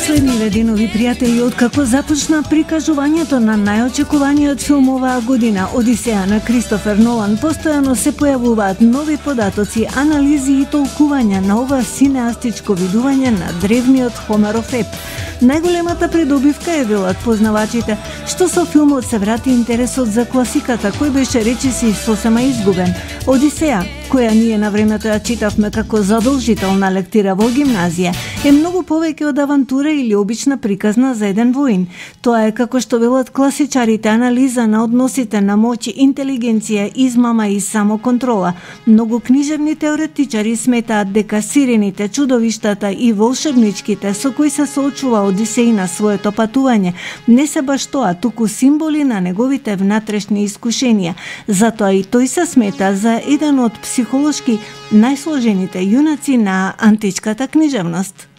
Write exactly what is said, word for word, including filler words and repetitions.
Последниве денови, пријатели, откако започна прикажувањето на најочекуваниот филм оваа година, Одисеја на Кристофер Нолан, постојано се појавуваат нови податоци, анализи и толкувања на ова синеастичко видување на древниот Хомеров еп. Најголемата придобивка е, велат познавачите, што со филмот се врати интересот за класиката, кој беше речиси сосема изгубен. Одисеја, која ние на времето ја читавме како задолжителна лектира во гимназија, е многу повеќе од авантура или обична приказна за еден воин. Тоа е, како што велат класичарите, анализа на односите на моќ, интелигенција, измама и самоконтрола. Многу книжевни теоретичари сметаат дека сирените, чудовиштата и волшебничките со кои се соочува Одисеј на своето патување не се баш тоа, туку символи на неговите внатрешни искушенија. Затоа и тој се смета за еден од психолошки најсложените јунаци на античката книжевност.